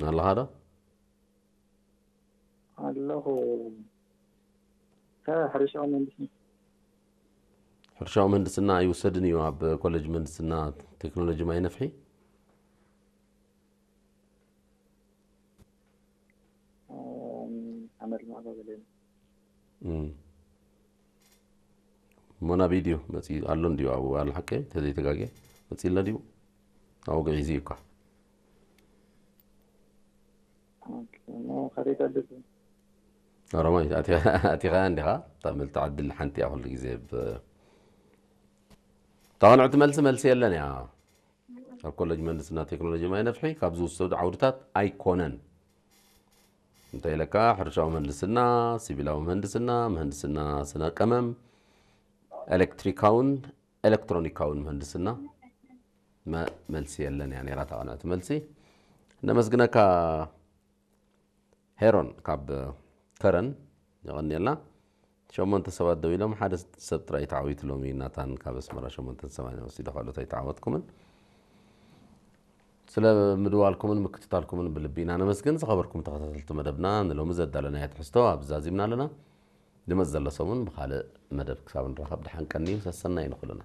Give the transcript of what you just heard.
ኣለኻ ዶ? ኣለኹ። ሕርሻዊ መንግስቲ ሕርሻዊ ምህንድስና ኣይውሰድን እዩ ኣብ ኮሌጅ ምህንድስና ቴክኖሎጂ ማይ ነፍሒ። ሓመድ ማዕበ ገለ እም። ሞና ቪድዮ መፂ ኣሎ እንዲዩ ኣብኡ ኣለ ሓቀ ተዘይተጋገ መፂ ኣሎ ድዩ? ኣብኡ ግዒዙ እዩ እኳ። ከደይተልፍ ኦሮማይ ኣቲኻ እንዲኻ? እታ ምልቲ ዓድል ሓንቲ እያ ኩሉ ግዜ ብ ታቕንዕቲ መልሲ መልሲ የለን እያ። ኣብ ኮሌጅ ምህንድስና ቴክኖሎጂ ማይ ነፍሒ ካብ ዝውሰዱ ዓውድታት ኣይኮነን። እንታይ ኢለካ? ሕርሻዊ ምህንድስና፣ ሲቪላዊ ምህንድስና፣ ምህንድስና ስነ ቀመም፣ ኤሌክትሪካውን ኤሌክትሮኒካውን ምህንድስና መ- መልሲ የለን እያ ነይራ ታቕንዕቲ መልሲ። ነመስግነካ ሄሮን ካብ ከረን። የቐንየልና። ሸሞንተ ሰባት ደው ኢሎም ሓደ ሰብ ጥራይ ተዓዊቱ ሎሚ ናታን ካብ ኣስመራ ሸሞንተ ሰማንያ ወሲዱ ካልኦት ኣይተዓወትኩምን። ስለ ምድዋልኩምን ምክትታልኩምን ብልቢ ኢና ነመስግን። ዝኸበርኩም ተኸታተልቲ መደብና ንሎሚ ዘዳለናዮ ትሕዝቶ ኣብ ዛዚምና ኣለና። ድመፅ ዘሎ ሰሙን ብኻልእ መደብ ክሳብ ንራኸብ ደሓን ቀንዩ ሰሰናይ ንኹልና።